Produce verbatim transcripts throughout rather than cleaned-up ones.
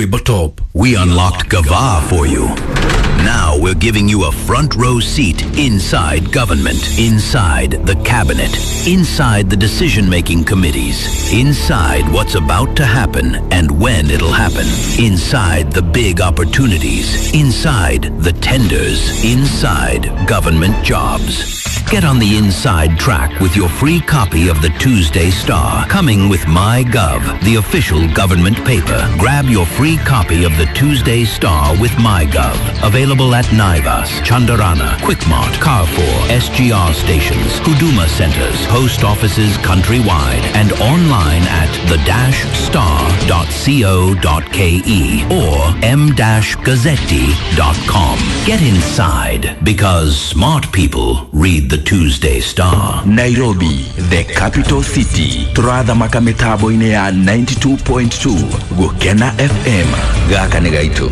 Rwimbo Top. We unlocked Gava for you. Now we're giving you a front row seat inside government, inside the cabinet, inside the decision-making committees, inside what's about to happen and when it'll happen, inside the big opportunities, inside the tenders, inside government jobs. Get on the inside track with your free copy of the Tuesday Star, coming with MyGov, the official government paper. Grab your free copy of the Tuesday Star with MyGov. Available at Naivas, Chandarana, Quickmart, Carrefour, S G R stations, Huduma centers, post offices countrywide, and online at the dash star dot co dot ke or m dash gazzetti dot com. Get inside, because smart people read the Tuesday Star. Nairobi, the capital city. Turathamaka mitambo-inĩ ya ninety-two point two Gukena F M. Gaka nĩ gaitũ.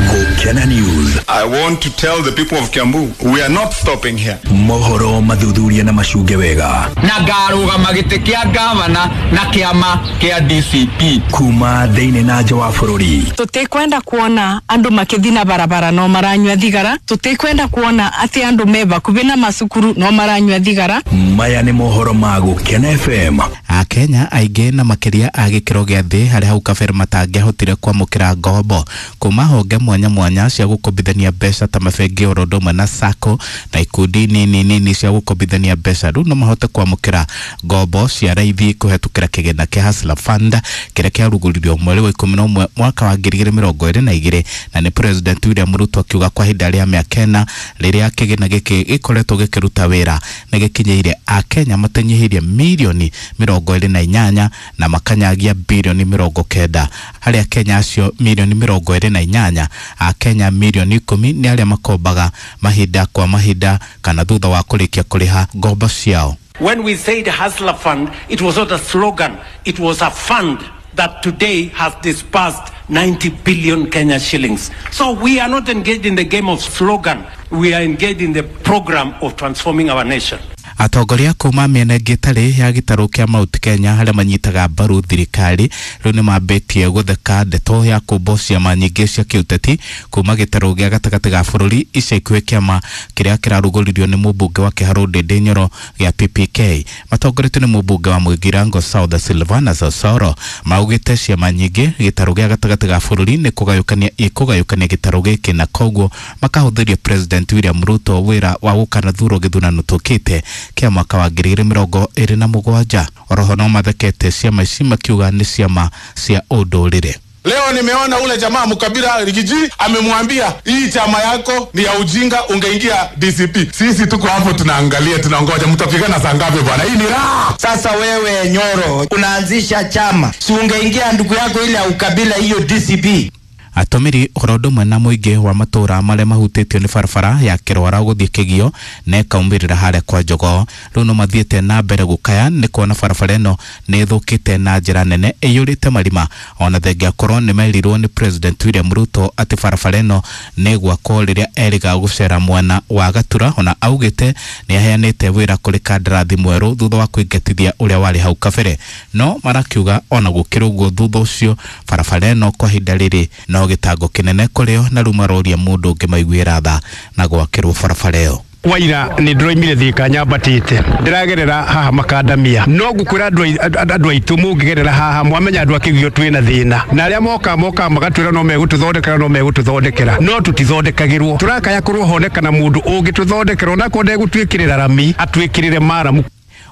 Gukena News. I want to tell the people of Kiambu, we are not stopping here. Mohoro mathuthuria na macunge wega. Na ngarũgama gĩtĩ kĩa gavana na kĩama kĩa D C P. Kuma thĩinĩ na nja wa bũrũri. Tũtikwenda kuona andũ makĩthiĩ na barabara no maranyua thigara. Tũtikwenda kuona atĩ andũ me hakuhĩ na macukuru no maranyua thigara. Maya nĩ mohoro ma Gukena F M. Akenya aingĩ na makĩria a gĩkĩro gĩa thĩ harĩa hau kabere matangĩahotire kwamũkĩra ngombo kuma honge mwanya mwanya cia gũkombithania mbeca ta mabengi oro ũndũ ũmwe na sacco na ikundi nini nini cia gũkombithania mbeca rĩu no mahote kwamũkĩra ngombo cia raithi kũhetũkĩra kĩgĩna kĩa Hustler Fund kĩrĩa kĩarugũririo mweri wa ikũmi na ũmwe mwaka wa ngiri igĩrĩ mĩrongo ĩrĩ na igĩrĩ na nĩ President William Ruto akiuga kwa ihinda rĩa mĩaka ĩna rĩrĩa kĩgĩna gĩkĩ gĩkoretwo gĩkĩruta wĩra nĩ gĩkinyĩire Akenya matanyihĩirie mirioni mĩrongo ĩrĩ na inyanya na makanyagia bilioni mĩrongo kenda harĩa Kenya acio mirioni mĩrongo ĩrĩ na inyanya Akenya mirioni ikũmi nĩ arĩa makombaga mahinda kwa mahinda kana thutha wa kũrĩkia kũrĩha ngombo ciao. When we said Hustler Fund, it was not a slogan, it was a fund that today has disbursed ninety billion Kenya shillings. So we are not engaged in the game of slogan, we are engaged in the program of transforming our nation. Atongoria kuma mĩena ĩngĩ ĩtarĩ ya gĩtarũ kĩa Mount Kenya harĩa manyitaga mbaru thirikari rĩu nĩ mambĩtie gũtheka ndeto ya kũmbwo ciama nyingĩ cia kĩũteti kuma gĩtarũ gĩa gatagatĩ ga bũrũri ica ikuhĩ kĩama kĩrĩa kĩrarugũririo nĩ mũmbunge wa Kĩharũ Ndĩndĩ Nyoro gĩa P P K matongoretio nĩ mũmbunge wa Mũgirango South Silvanus Osoro maugĩte ciama nyingĩ gĩtarũ gĩa gatagatĩ ga bũrũri nĩ kũgayũkania ikũgayũkania gĩtarũ gĩkĩ na koguo makahũthĩria President William Ruto wĩra wa gũkanathurwo gĩthurano tũkĩte kĩa mwaka wa ngiri igĩrĩ mĩrongo ĩrĩ na mũgwanja. Oroho no mathekete ciama ici makiuga nĩ ciama cia ũndũrĩre. Leo nimeona ule jamaa Mkabila Rigiji amemwambia hii chama yako ni ya ujinga, ungeingia D C P. Sisi tuko hapo tunaangalia, tunangoja mtapigana saa ngapi bwana. Hii ni raha. Sasa wewe Nyoro unaanzisha chama, si ungeingia ndugu yako ile ya ukabila hiyo D C P. Atumiri ũhoro ũndũ ũmwe na mũingĩ wa matũra marĩa mahutĩtio nĩ barabara ya Kĩrwara gũthiĩ Kĩgio na ĩkaumĩrĩra harĩa kwa Njogoo rĩu no mathiĩte na mbere gũkaya nĩ kuona barabara ĩno nĩ ĩthũkĩte na njĩra nene ĩiyũrĩte marima ona thengia korwo nĩ merirwo nĩ President William Ruto atĩ barabara ĩno nĩ ĩgwakwo rĩrĩa erĩga gũcera mwena wa Gatura ona augĩte nĩ aheanĩte wĩra kũrĩ kandarathi mwerũ thutha wa kũingatithia ũrĩa warĩ hau kabere no marakiuga ona gũkĩrĩ ũguo thutha ũcio barabara ĩno kwa ihinda rĩrĩ no gĩtango kĩnene kũrĩo na rĩu maroria mũndũ ũngĩ maiguĩra tha na gwakĩrwo barabara ĩyo. Waira nĩ ndĩroimire Thika nyambatĩte ndĩragerera haha makandamia no ngũkwĩra andũ aitũ mũngĩgerera haha mwamenya andũ a Kĩgio twĩna thĩna na arĩa moka moka magatwĩra no megũtũthondekera no megũtũthondekera no tũtithondekagĩrwo tũrakaya kũrwo honekana mũndũ ũngĩtũthondekera onakorwo ndegũtwĩkĩrĩra rami atwĩkĩrĩre maramu.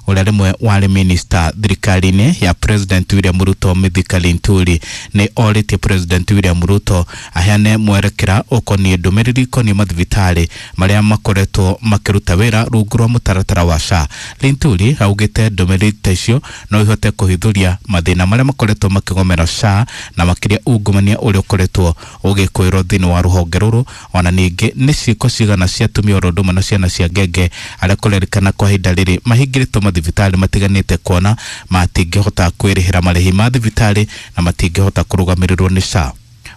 Ũrĩa rĩmwe warĩ minista thirikari-inĩ ya President William Ruto Mithika Linturi nĩ orĩtie President William Ruto aheane mwerekera ũkoniĩ ndũmĩrĩri ikoniĩ mathibitarĩ marĩa makoretwo makĩruta wĩra rungu rwa mũtaratara wa S H A. Linturi augĩte ndũmĩrĩri ta icio no ihote kũhithũria mathĩna marĩa makoretwo makĩgomera S H A na makĩria ungumania ũrĩa ũkoretwo ũgĩkũĩrwo thĩinĩ wa rũhonge rũrũ ona ningĩ nĩ ciĩko cigana cia atumia oro ũndũ ũmwe na ciana cia ngenge arĩa kũrerĩkana kwa ihinda rĩrĩ mahingĩrĩtwo mathibitarĩ matiganĩte kuona matingĩhota kwĩrĩhĩra marĩhi ma thibitarĩ na matingĩhota kũrũgamĩrĩrwo nĩ S H A.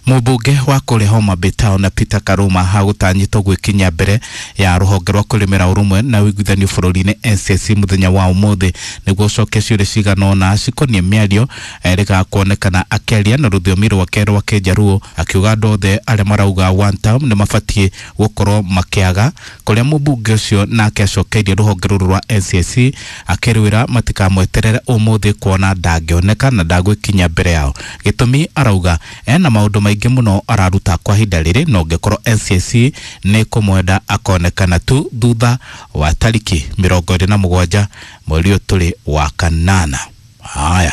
Mũmbunge wa kũrĩa Homa Bay Town na Peter Karuma hagũtanyĩtwo gwĩkinyia mbere ya rũhonge rwa kũrĩmĩra ũrũmwe na ũiguithanio bũrũri-inĩ N C C mũthenya wa ũmũthĩ nĩguo ũcoke ciũria cigana ũna cikoniĩ mĩario erĩga kuonekana akĩaria na rũthiomi rwake rwa Kĩnjaruo akiuga andũ othe arĩa marauga one term nĩ mabatiĩ gũkorwo makĩaga kũrĩa mũmbunge ũcio nake acokeirie rũhonge rũrũ rwa N C C akĩrwĩra matikamweterere ũmũthĩ kuona ndangĩoneka na ndagwĩkinyia mbere yao. Gĩtũmi arauga ena maũndũ maingĩ mũno araruta kwa ihinda rĩrĩ na ũngĩkorwo N C C nĩ kũmwenda akonekana tu thutha wa tariki mĩrongo ĩrĩ na mũgwanja mweri ũyũ tũrĩ wa kanana. Haya,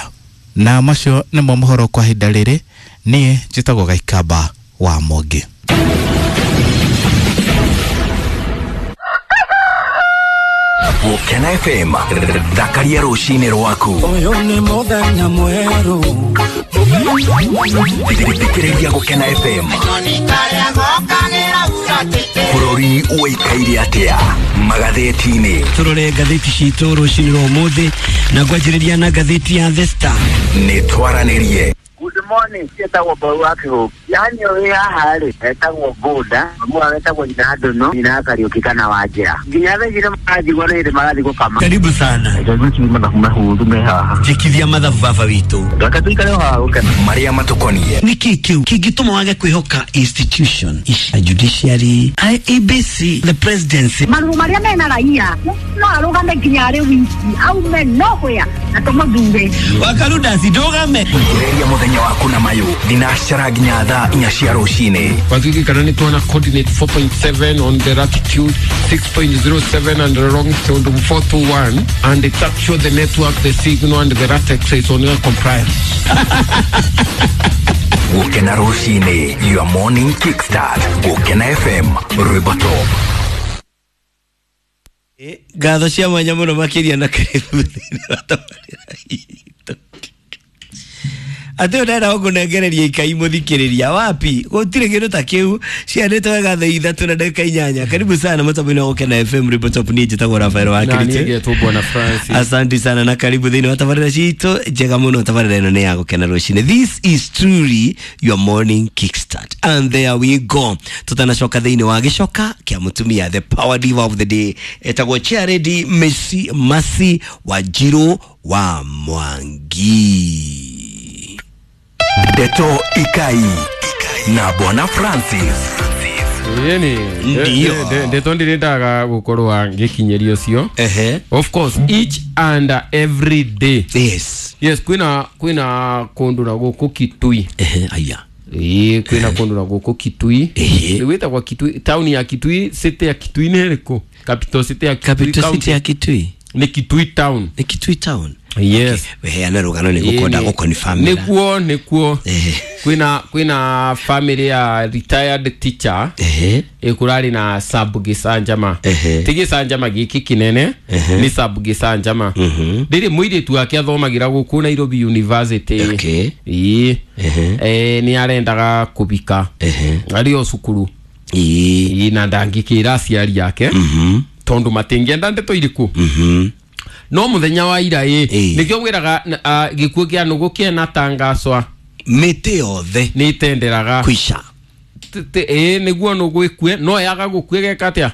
na macio nĩmo mohoro kwa ihinda rĩrĩ. Niĩ njĩtagwo Gaikamba wa Mwangi. Gũkena F M thakaria rũcinĩ rwaku. Ũyũ nĩ mũthenya mwerũ. Thikĩrĩria Gũkena F M. Bũrũri ũikaire atĩa magathĩti-inĩ? Tũrore ngathĩti citũ rũcinĩ rwa ũmũthĩ na ngwanjĩrĩria na ngathĩti ya The Star. Nĩ twaranĩrie. Good morning, cietagwo Mbau wa Kĩhũngĩ. Yani ũrĩ haha rĩ, etagwo Boda, mwa etagwo nyina Ndono, nyina Kariũki kana Wanjĩra. Nginya thaa ici nĩ maranjigua nĩ hĩndĩ marathiĩ gũkama. Karibu sana. Mathabu mahũthũ me haha. Njĩkithia mathabu baba witũ. Reke tũikare o haha gũkena. Marĩa matũkoniĩ. Nĩkĩ kĩu kĩngĩtũma wage kwĩhoka institution ici, judiciary, I E B C, the presidency. Maruo marĩa mena raia no arũgame nginya arĩ wiki aume nowhere na tũmũthure. Wakarudasi ndũgame. Thikĩrĩria mũthenya waku na mayũ thinacara nginya thaa inya cia rũcinĩ. Twazirikana nĩ tuona coordinate four point seven on the latitude, six point zero seven and the longitude four two one, and it's actually the network, the signal and the latex is on your compliance. Gũkena rũcinĩ, your morning kickstart. Gũkena F M, rwĩmbo top. Ngatho cia mwanya mũno makĩria na karibu thĩinĩ wa tabarĩra itũ. Atĩ ũrenda gũkũnengereria ikai mũthikĩrĩria wapi gũtirĩ kĩndũ ta kĩu cianĩtwo wega thaa ithatũ na ndagĩka inyanya. Karibu sana mũtambo-inĩ wa Gũkena F M rwĩmbo top. Niĩ njĩtagwo Rafael wa Na niĩ Kiriti. ngetwo Bwana Francis. Asante sana na karibu thĩinĩ wa tabarĩra citũ njega mũno. Tabarĩra ĩno nĩ ya Gũkena rũcinĩ. This is truly your morning kickstart and there we go. Tutanacoka thĩinĩ wa gĩcoka kĩa mũtumia the power diva of the day etagwo Chair Lady Messi Masi Wanjiru wa Mwangi. Ndeto Ikai na Bwana Francis. Yeni Ndio. ndeto ndirendaga gukorwa ngikinyerio cio. Ehe. Of course each and every day. Yes. Yes, kwina kwina kundu na guku Kitui. Ehe, aya. Ii kwina kundu na guku Kitui. Ehe. Gwitagwo Kitui, town ya Kitui, city ya Kitui nĩ ĩrĩkũ? Capital city ya Kitui. Capital county. city ya Kitui. Nĩ Kitui town. Nĩ Kitui town. Yes. Okay. Weheana rũgano nĩ gũkonda gũkonfirm. Nĩkuo nĩkuo. Ehe. Kwina kwina family ya retired teacher. Ehe. Ĩkũrarĩ na sub gĩcanjama. Ehe. Ti gĩcanjama gĩkĩ kĩnene, Ehe. nĩ sub gĩcanjama. Mhm. Rĩrĩ mũirĩtu wake athomagĩra gũkũ Nairobi University. Okay. Ĩĩ. Ehe. Eh, nĩ arendaga kũbika. Ehe. Arĩ o cukuru. Ĩĩ. Ĩĩ, na ndangĩkĩra aciari ake. Mhm. Tondũ matingĩenda ndeto irĩkũ. Mhm. No mũthenya wa ira ĩ, Ĩĩ. nĩkĩo ngwĩraga, ah, gĩkuũ kĩa nũgũ kĩena tangacwa. Mĩtĩ yothe nĩ ĩtenderaga. Kũica. Ĩĩ, nĩguo nũgũ ĩkue, no yaga gũkua ĩgeka atĩa?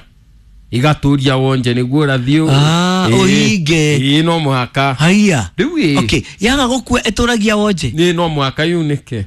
Ĩgatũria wonje nĩguo ũrathiĩ ũ- Ah, Ĩĩ. ũhinge. Ĩĩ, no mũhaka. Haiya. Rĩu ĩ. Okay, yaga gũkua ĩtũragia wonje? Ĩĩ, no mũhaka yunĩke.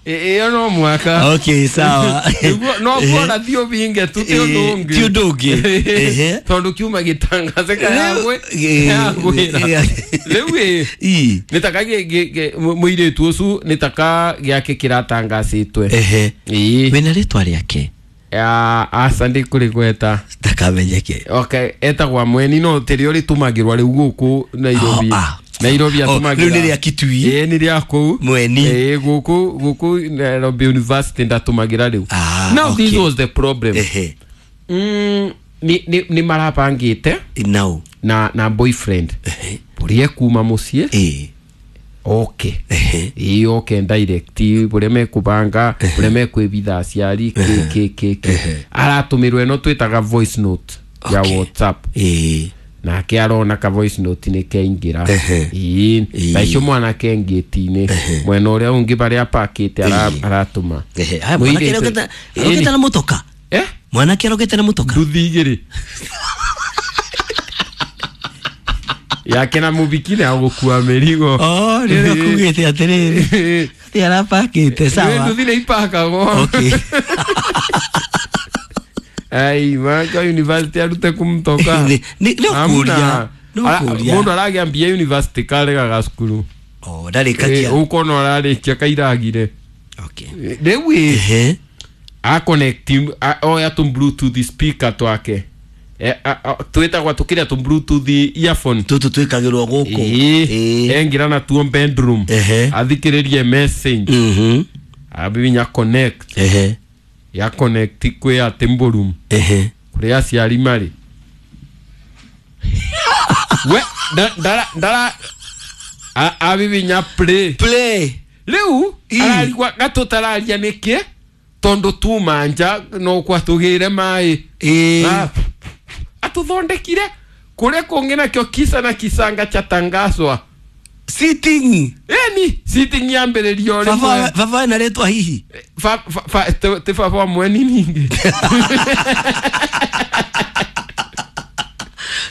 Ĩyo no mũhaka. Okay, sawa. Nĩguo, no kuona ti ũbinge tu, ti ũndũ ũngĩ. Ti ũndũ ũngĩ. Ehe. Tondũ kiuma gĩtangaze kayagwe, Ĩĩ. kayagwĩra. Rĩu ĩ, Ĩ. nĩ taka gĩ-, gĩ-, gĩ-, mũirĩtu ũcio nĩ taka gĩake kĩratangacĩtwe. Ehe. Ĩĩ. Wĩna rĩtwa rĩake? Ya, aca ndikũrĩgweta. Ndakamenyeke. Okay, etagwo Mweni no tĩrĩo rĩtũmagĩrwo rĩu gũkũ Nairobi. Oh, ah. Nairobi Oh, atũmagĩra. rĩu nĩ rĩa Kitui. Ĩĩ, nĩ rĩa kũu. Mweni. Ĩĩ, gũkũ, gũkũ Nairobi University ndatũmagĩra rĩu. Ah, Now this okay. was the problem. Ehe. Mm, nĩ, nĩ, nĩ marabangĩte Now. na, na boyfriend. Ehe. Ũrĩa kuma mũciĩ. Ĩĩ. Okay. Ehe. Ĩĩ, oke direct ũrĩa mekũbanga, ũrĩa mekwĩbitha aciari, kĩ, kĩ, kĩ, kĩ. Aratũmĩrwo ĩno twĩtaga voice note ya Okay. WhatsApp. Ĩĩ. Nake arona ka voice note nĩ keingĩra. Ĩĩ thaa icio mwanake ngĩti-inĩ mwena ũrĩa ũngĩ barĩa apakĩte aratũma. Haya, mwanake arokĩte arokĩte na mũtoka. Eh? Mwanake arokĩte na mũtoka. Nduthi igĩrĩ. Yake na mũbikine agũkua mĩrigo. Oh, nĩ ũrĩa kugĩte atĩrĩrĩ. Atĩ arapakĩte sawa. Nduthi nĩ ipakagwo. Okay. Ai, mwanake wa university arute kũmũtoka. Nĩ nĩ ũkũria. Nĩ ũkũria. Mũndũ aragiambia university karegaga cukuru. Oh, ndarĩkagia. Ũkona ararĩkia kairagire. Okay. Rĩu ĩ a connect oya tũ bluetooth speaker twake. Twĩtagwa tũkĩrĩa tũ bluetooth earphone. Tũtũ twĩkagĩrwo gũkũ. Ĩĩ. Engĩra na tuo bedroom. Athikĩrĩrie message. Mhm. Abibinya connect. Ehe. Ya connect kwĩ atĩ mbũrum. Ehe. Kũrĩa aciari marĩ. We ndara ndara abibinya play. Play. Rĩu ararigwa gatũtararia nĩkĩ tondũ tuma nja no kwatũgĩre maĩ. Ĩĩ. Atuthondekire kũrĩa kũngĩ nakĩo kisa na kisanga cha tangaswa. Sitting. Eni sitting yambĩrĩrio rĩmwe. Baba baba na rĩtwa hihi. Fa fa te baba mweni ningĩ.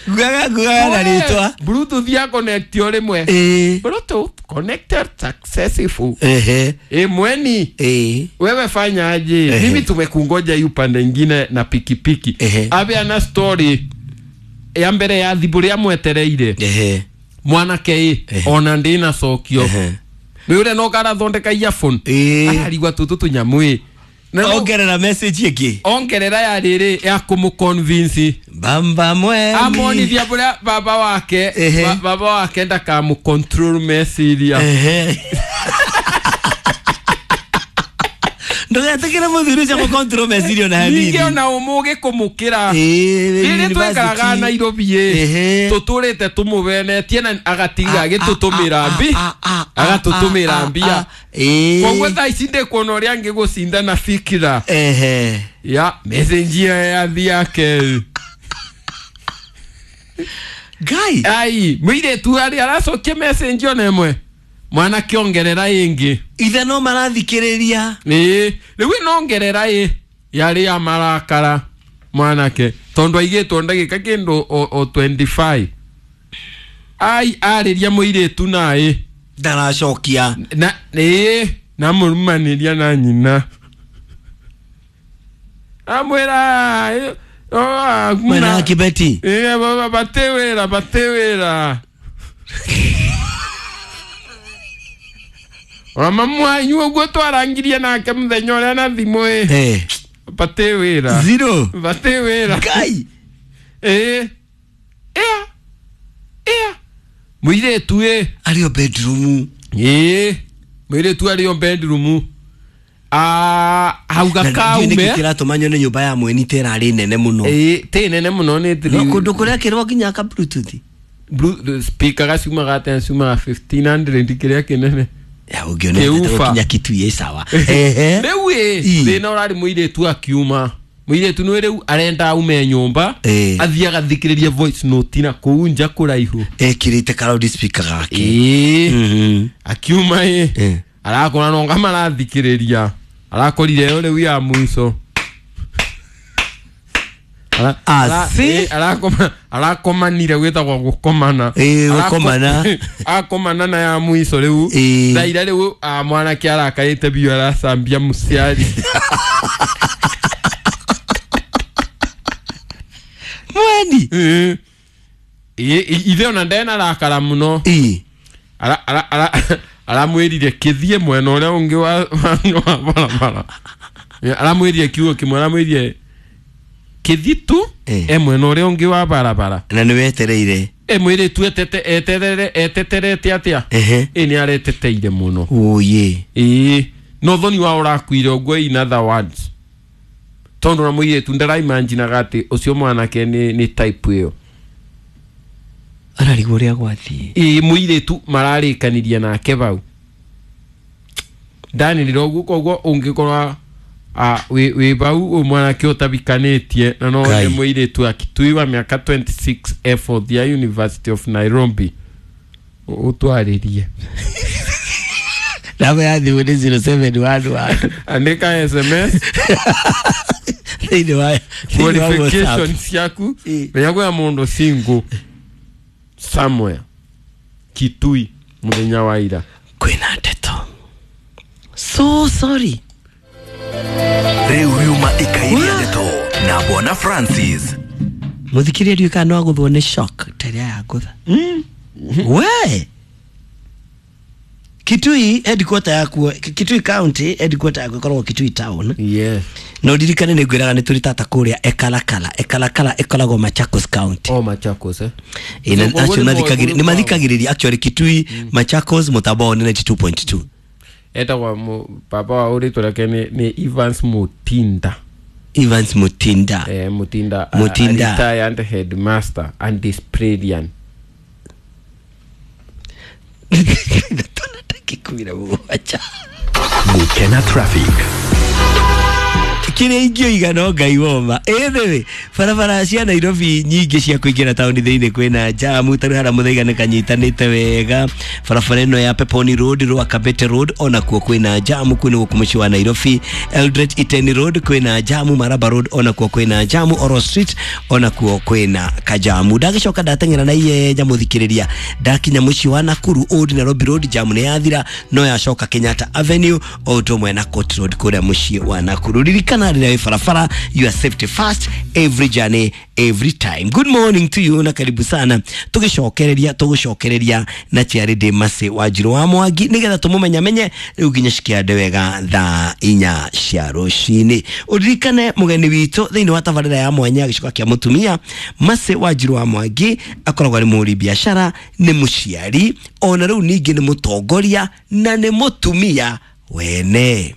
Gugaga gugaga na rĩtwa. Bluetooth ya connect yo rĩmwe. Ĩĩ. Bluetooth connected successful. Ehe. E mweni. Eh. Wewe fanya aje? Mimi tumekungoja hii upande nyingine na pikipiki. Abe ana story ya mbere ya thibu ria mwetereire. Ehe. Mwanake ĩ ona ndina cokio. Nĩ ũrĩa no karathondeka earphone. Ararigwa tũtũ tũnyamũ ĩ. Na ongerera message ĩngĩ. Ongerera ya rĩrĩ ya kũmũconvince. Bamba mweni. Amonithia bũrĩa baba wake ba, baba wake ndakamucontrol meciria. Ehe. Ndũgetĩkĩre mũthuri ũcio gũcontrol meciria ona hanini. Ningĩ ona ũmũgĩ kũmũkĩra. Rĩrĩ twekaraga Nairobi ĩ tũtũrĩte tũmũbenetie na agatiga agĩtũtũmĩra mbi. Agatũtũmĩra mbia. Koguo thaa ici ndĩkuona ũrĩa angĩgũcinda na fikira. Ehe. Ya message ĩyo yathi yake. Ngai. Ai, mũirĩtu arĩa aracokia message ona ĩmwe. Mwanake ongerera ĩngĩ. Ithe no marathikĩrĩria. Ĩĩ, rĩu ĩno ongerera ĩ yarĩ ya marakara mwanake tondũ aigĩtwo ndagĩka kĩndũ o, o twenty-five. Ai arĩria mũirĩtu naĩ ndaracokia na ĩĩ na mũrumanĩria na nyina. Amwĩra oh mwena wa Kibeti. Ĩĩ baba bate wĩra bate wĩra. Ora mamu wanyu ũguo twarangirie nake mũthenya ũrĩa na thimũ ĩ. Eh. Bate wĩra. Zero. Bate wĩra. Ngai. Ĩĩ. Ĩa. Ĩa. Mũirĩtu ĩ. Arĩ o bedroom. Ĩĩ. Mũirĩtu arĩ o bedroom. Ah, hauga kaume. Nĩ kĩratũma nyone nyũmba ya mweni ta ĩrarĩ nene mũno. Ĩĩ, tĩ nene mũno nĩ three. No kũndũ kũrĩa kĩrwo nginya ka bluetooth. Blue speaker gaciumaga atĩa ciumaga fifteen hundred kĩrĩa kĩnene. Ya ũngĩona kinya kitu ye sawa. Ehe. Rĩu ĩ thĩna ũrarĩ mũirĩtu akiuma. Mũirĩtu nĩ rĩu arenda aume nyũmba athiĩ agathikĩrĩrie voice note na kũu nja kũraihu. Ekĩrĩte ka loud speaker gake. Ĩĩ. Akiuma ĩ arakora no marathikĩrĩria. Arakorire ĩyo rĩu ya mũico. Asi arakoma arakomanire gwĩtagwo gũkomana. Ĩĩ gũkomana. Akomana na ya mũico rĩu. Thaira rĩu mwanake arakarĩte biũ aracambia mũciari. Mweni. Ĩĩ ithe ona ndena arakara mũno. Ĩĩ. Ara ara ara aramwĩrire kĩthiĩ mwena ũrĩa ũngĩ wa barabara. Aramwĩrire kiugo kĩmwe aramwĩrire kĩthitu e mwena ũrĩa ũngĩ wa barabara. Na nĩ wetereire. E mwĩrĩtu etete eterere eteterete atĩa? Ĩ nĩ areteteire mũno. Oye. Ĩĩ no thoni wa ũrakuire ũguo in other words. Tondũ na mũirĩtu ndaraimaginaga atĩ ũcio mwanake nĩ nĩ type ĩyo. Ararigwo ũrĩa gwathiĩ. Ĩĩ mũirĩtu mararĩkanirie nake bau. Ndanĩrĩra ũguo koguo ũngĩkorwo Ah, wi wi bau mwanake ũtabikanĩtie na no Ngai. nĩ mũirĩtu akitui wa mĩaka twenty-six F of the University of Nairobi. Ũtwarĩrie. Namba ya thimũ nĩ zero seven one one. Andĩka S M S. Thĩinĩ wa thĩinĩ wa Qualification WhatsApp. ciaku. Menya kwĩ mũndũ single somewhere Kitui mũthenya wa ira. Kwĩna ndeto. So sorry. Rĩu riuma ikairia ndeto na Bwana Francis. Mũthikĩrĩria ndiũĩ kana no agũthwo nĩ shock ta ĩrĩa yangũtha. We Kitui headquarter yakuo, Kitui County headquarter yakuo ĩkoragwo Kitui town. Yeah. Na ũririkane nĩ ngwĩraga nĩ tũrĩ tata kũrĩa Ekalakala. Ekalakala ĩkoragwo Machakos County. Oh, Machakos eh. Ina So, koguo acio nĩ mathikagĩrĩria mo- nĩ mathikagĩrĩria actually Kitui, Machakos mũtambo wao nĩ ninety-two point two. Etagwo mu baba wa ũrĩtwa rĩake nĩ nĩ Evans Mutinda. Evans Mutinda. Eh, Mutinda, a- Mutinda. a retired headmaster and disciplinarian. Gukena traffic. Kĩrĩa ingĩoiga no Ngai woma. Ĩthĩ barabara cia Nairobi nyingĩ cia kũingĩra taũni thĩinĩ kwĩna jamu tarĩ harĩa Mũthaiga nĩ kanyitanĩte wega. Barabara ĩno ya Peponi Road, Rua Kabete Road onakuo kwĩna jamu kũu nĩ gũkũ mũciĩ wa Nairobi. Eldoret Iten Road kwĩna jamu, Maraba Road onakuo kwĩna jamu, Oro Street onakuo kwĩna kajamu. Ndagĩcoka ndateng'era na ihenya mũthikĩrĩria ndakinya mũciĩ wa Nakuru Old Nairobi Road jamu nĩ yathira no yacoka Kenyatta Avenue o ũndũ ũmwe na Court Road kũrĩa mũciĩ wa Nakuru. Ririkana rĩrĩa wĩ barabara, your safety first, every journey, every time. Good morning to you na karibu sana. Tũgĩcokereria tũgũcokereria na Charity Mercy Wanjiru wa Mwangi nĩgetha tũmũmenyamenye rĩu nginya cikĩande wega thaa inya cia rũcinĩ. Ũririkane mũgeni witũ thĩinĩ wa tabarĩra ya mwanya gĩcoka kĩa mũtumia Mercy Wanjiru wa Mwangi akoragwo arĩ mũhũri biacara, nĩ mũciari, ona rĩu ningĩ nĩ mũtongoria na nĩ mũtumia wene.